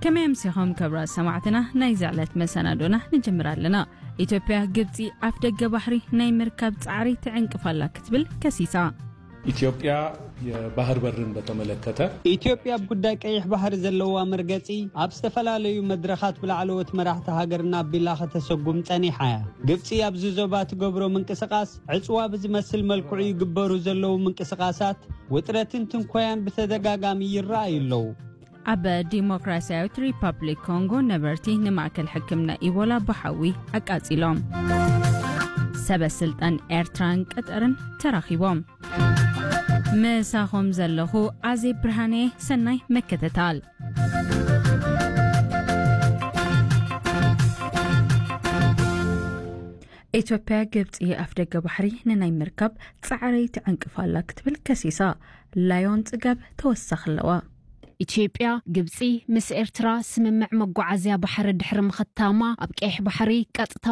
ከመይ ኣምሲኹም ክቡራት ሰማዕትና? ናይዚ ዕለት መሰናዶና ንጅምር ኣለና። ኢትዮጵያ ግብጺ ኣፍ ደገ ባሕሪ ናይ ምርካብ ጻዕሪ ትዕንቅፍ ኣላ ክትብል ከሲሳ። ኢትዮጵያ የባህር በርን በተመለከተ ኢትዮጵያ ኣብ ጉዳይ ቀይሕ ባሕሪ ዘለዋ መርገጺ ኣብ ዝተፈላለዩ መድረኻት ብላዕለዎት መራሕቲ ሃገርና ኣቢላ ከተሰጉም ጸኒሓ እያ። ግብጺ ኣብዚ ዞባ ትገብሮ ምንቅስቓስ ዕጽዋ ብዝመስል መልክዑ ይግበሩ ዘለዉ ምንቅስቓሳት ውጥረትን ትንኮያን ብተደጋጋሚ ይረኣዩ ኣለዉ። ኣብ ዲሞክራሲያዊት ሪፓብሊክ ኮንጎ ነበርቲ ንማእከል ሕክምና ኢቦላ ብሓዊ ኣቃጺሎም። ሰበ ስልጣን ኤርትራን ቀጠርን ተራኺቦም። ምሳኹም ዘለኹ ኣዜብ ብርሃኔ። ሰናይ መከተታል። ኢትዮጵያ ግብጺ ኣፍ ደገ ባሕሪ ንናይ ምርካብ ጻዕሪ ትዕንቅፍ ኣላ ክትብል ከሲሳ። ላዮን ጽጋብ ተወሳኺ ኣለዋ። ኢትዮጵያ ግብጺ ምስ ኤርትራ ስምምዕ መጓዓዝያ ባሕሪ ድሕሪ ምኽታማ ኣብ ቀይሕ ባሕሪ ቀጥታ